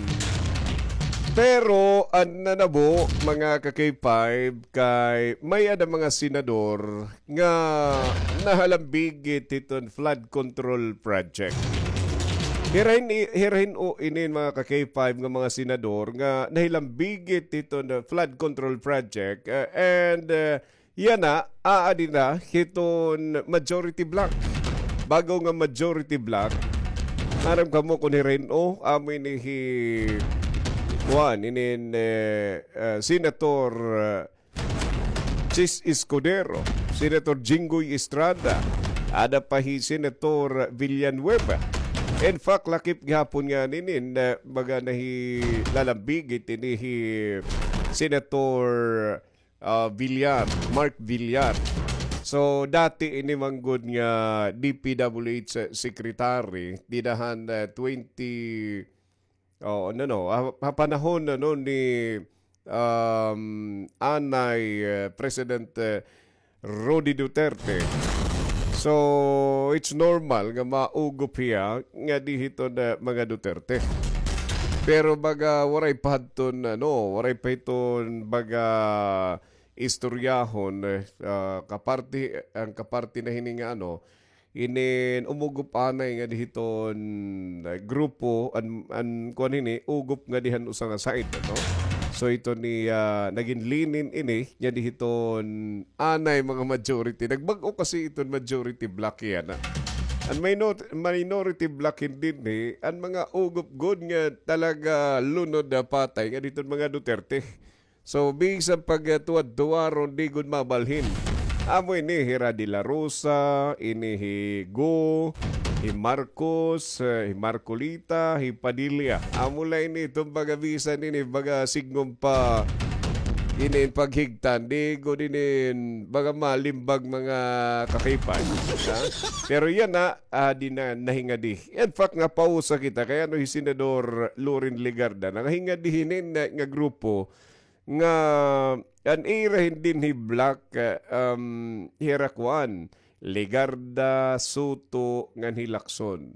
pero an nanabo, mga ka-K five, kay may-ada mga senador nga nahalambigit hiton flood control project. Hira hin-, hira hin-o inin, mga ka-K five, nga mga senador nga nahilambigit hiton, uh, flood control project, uh, and, uh, yana, aadi na hiton majority bloc. Bag-o nga majority bloc. Aram kamo kon hira hin-o, amo ini hi, kuan, inin, eh, uh, Senator, uh, Chiz Escudero, Senator Jinggoy Estrada, ada pa hi Senator Villanueva. In fact, lakip gihapon ngani inin, eh, baga nahilalambigit ini hi Senator, ah, Villar, Mark Villar. So, dati ini man gud nga D P W H secretary, dida han, eh, twenty, Oo, no, no. Ha, ha panahon, ano, ni, um, anay, eh, President, eh, Rody Duterte. So, it's normal nga maugop hiya nga di hiton mga Duterte. Pero baga waray pa hadton, ano, waray pa hiton baga istoryahon, eh, ah, kaparti, an kaparti na hini nga, ano, inin umugop anay nga di hiton, ah, grupo, an, an, kuan hini, ugop nga di han usa nga side, ano? So, ito ni, ah, nagin linin ini, niya di hiton anay mga majority. Nagbag-o kasi iton majority bloc yana. An minor-, minority bloc hin dinhi, an mga ugop gud nga talaga lunod na patay nga diton mga Duterte. So, bisan pag, ah, tuwad-tuwaron, di gud mabalhin. Amo ini, hira De La Rosa, ini hi Go, hi Marcos, eh, hi Marcolita, hi Padilla. Amo la ini, iton baga bisan ini, baga signgom pa, ini paghigtan, di gud ini, baga malimbag mga kakipay. Ha? Pero yana, ah, di na, nahingadi. In fact, napausa kita, kay ano hi Senador Loren Legarda, nangahingadi hinin nga, nga grupo, nga an ira hin dinhi bloc, eh, um, hira kuan, Legarda, Soto, ngan hi Lacson.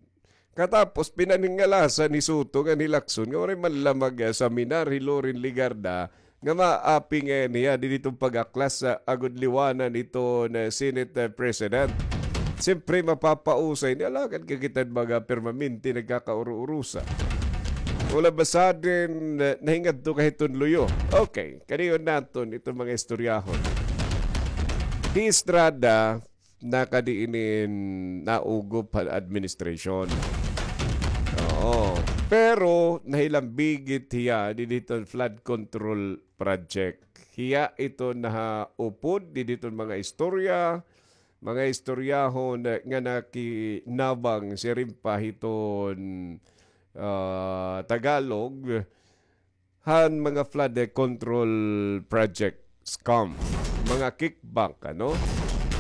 Katapos, pinaningalasan hi Soto ngan hi Lacson, nga waray man la mag, eh, seminar hi Loren Legarda, nga maapi ngay-an hiya didi hiton pag-aklas, ah, agod liwanan iton, eh, Senate, eh, President. Siyempre, mapapausay ini, alagad ka kita baga permanente nagkakauro-urusa. All of a sudden, eh, nahingadto ka hiton luyo. Okay, kadayon naton iton mga istoryahon. Hi Estrada, nakadi inin naugop han administration. Oo. Pero nahilambigit hiya didi hiton flood control project. Hiya ito nahaupod didi hiton mga istorya, mga istoryahon nga nakinabang siring pa hiton, ah, Tagalog, han mga flood control project scam, mga kickback, ano?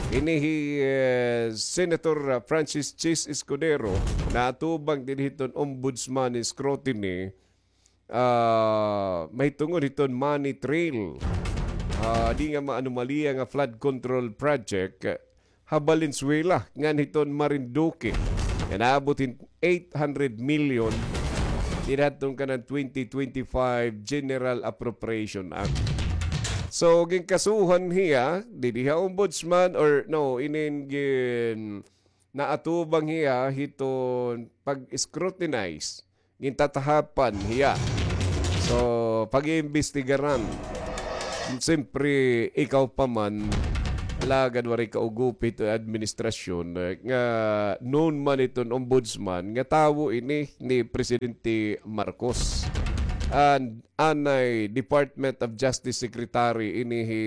Ini hi, eh, Senator, ah, Francis Chis Escudero, naatubang didi hiton ombudsman scrutiny, ah, mahitungod hiton money trail. Ah, di nga maanomalya nga flood control project, ha Valenzuela, ngan hiton Marinduque, nga naabot hin eight hundred million dida hadton kanan twenty twenty-five General Appropriation Act. So, ginkasuhan hiya, didi ha ombudsman or no, inin gin-, naatubang hiya hiton pag-scrutinize, gintatahapan hiya. So, pag-iimbestigaran. Siyempre, ikaw pa man, alagad waray kaugupi hiton administrasyon, eh, nga known man hiton ombudsman, nga tawo ini ni Presidente Marcos. And anay Department of Justice Secretary ini hi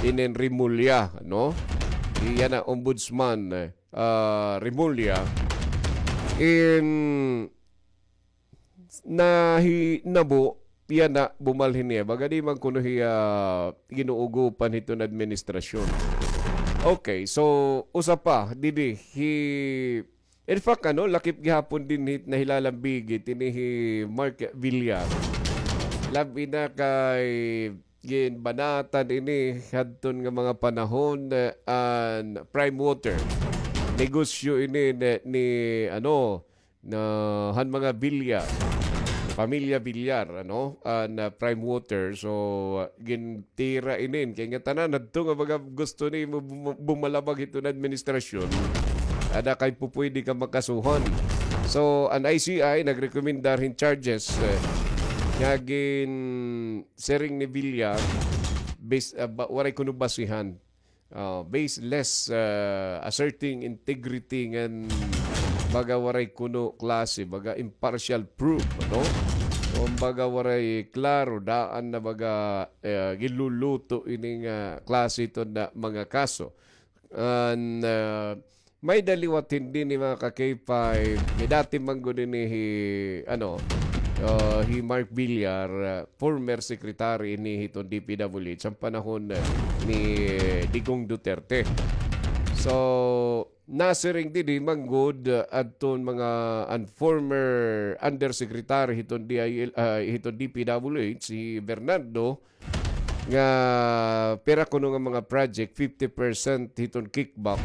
inin Remulla, no? Hiya na ombudsman, eh, ah, Remulla. In nahinabo, yana bumalhin niya. Baga di man kuno hiya ginuugupan hiton administrasyon. Okay, so, usa pa, didi, hi, in fact, ano, lakip gihapon dinhi nahilalambigit ini hi Mark Villar. Labi na kay ginbanatan ini hadton nga mga panahon, eh, an Prime Water. Negosyo ini ni, ni, ano, na han mga Villar, pamilya Villar, ano, an, ah, Prime Water. So, ah, gintira inin. Kay ngatanan hadto nga mga gusto ni mo bum-, bumalabag hiton administrasyon, ada kay pupwede ka makasuhan. So, an I C I nagrekomendar hin charges, eh, nga ginsiring ni Villar, bis-, ah, ba-, waray kuno basihan. Ah, baseless, ah, asserting integrity ngan baga waray kuno klase, baga impartial proof, ano? Kumbaga waray klaro, daan na baga, eh, ginluluto ini nga klase iton nga mga kaso. An, ah, may-ada liwat hin dinhi, mga ka-K five, hi dati man gud ini hi, ano, ah, hi Mark Villar, ah, former secretary ini hiton D P W H han panahon, eh, ni Digong Duterte. So, nasiring didi man gud, ah, adton mga an former undersecretary hiton D I L, ah, hiton D P W H, hi Bernardo, nga pira kuno nga mga project, fifty percent hiton kickback,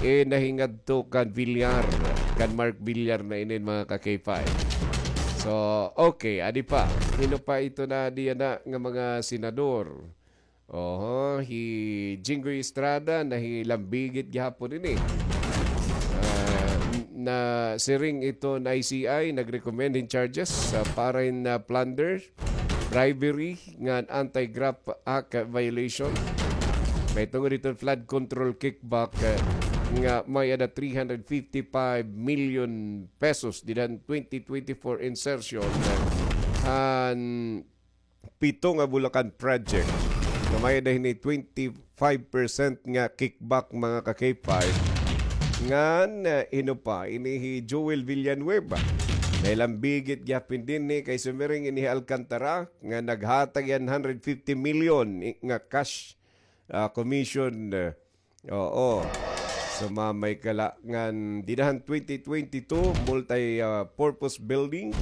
eh, nahingadto kan Villar, kan Mark Villar na inin, mga ka-K five. So, okay, adi pa. Hin-o pa ito na diyan na nga mga senador? Oho, hi Jinggoy Estrada, nahilambigit gihapon ini. Ah, n-, na siring iton I C I, nag-recommend hin charges sa para hin, ah, plunder, bribery, ngan Anti-Graft Act violation. Mahitungod iton flood control kickback, ah, nga may-ada three hundred fifty-five million pesos dida han twenty twenty-four insertion, ah, han pito nga Bulacan project. Nga may-ada hini twenty-five percent nga kickback, mga ka-K five. Ngan, ah, hin-o pa, ini hi Joel Villanueva. Nahilambigit gihapon dinhi kay sumiring ini hi Alcantara nga naghatag hiya hin hundred fifty million i-, nga cash, ah, commission, ah, Oo. Sumamay ka la ngan dida han twenty twenty-two, multi, ah, purpose building,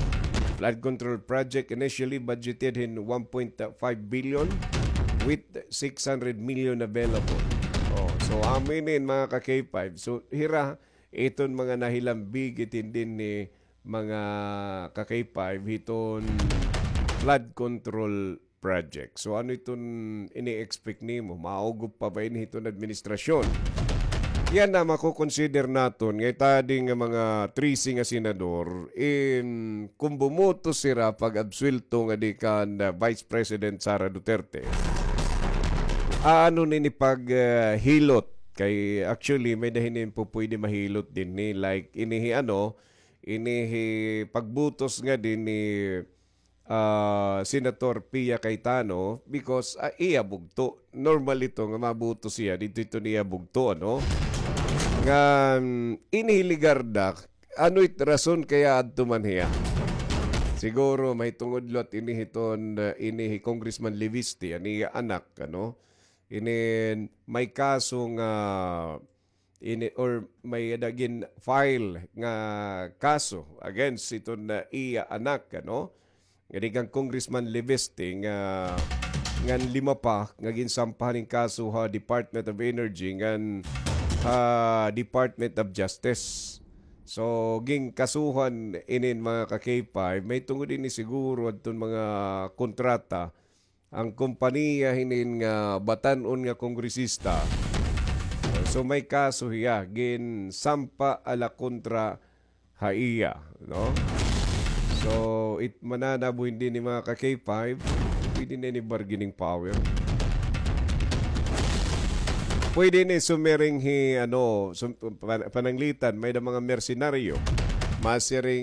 flood control project initially budgeted hin one point five billion with six hundred million available. Oh, so amo ini, mga ka-K five. So, hira, iton mga nahilambigit dinhi, mga ka-K five, hiton flood control project. So, ano iton ini-expect nimo? Maugop pa ba ini hiton administrasyon? Yana, mako-consider naton nga it adi nga mga trese nga senador, in, kon bumoto sira pag-absuwelto ngadi kan, ah, Vice President Sara Duterte, ano ini pag, ah, hilot? Kay actually, may-ada hini pupwede mahilot dinhi, like, ini hi ano, ini hi pagbutos ngadi ni ah, Senator Pia Cayetano because, ah, iya bugto. Normal ito nga mabutos hiya, didto ito niya bugto, ano? Ngan, ini hi Legarda, ano it rason kay adto man hiya? Siguro, mahitungod liwat ini hiton, ah, ini hi Congressman Leviste, an iya anak, ano? Ini may kaso nga ini, or may-ada gin-file nga kaso against iton, ah, iya anak, ano? Ngadi kan Congressman Leviste nga, ngan lima pa nga ginsampahan hin kaso ha Department of Energy ngan ha Department of Justice. So, ginkasuhan inin, mga ka-K five, mahitungod ini siguro adton mga kontrata an kompanya hinin nga batan-on nga kongresista. So, may kaso hiya, ginsampa ala kontra ha iya, no? So, it mananabo hini, mga ka-K five, pwede na ini bargaining power. Pwede ini sumiring hi, ano, sum-, pan-, pananglitan, may-ada mga mersenaryo. Masiring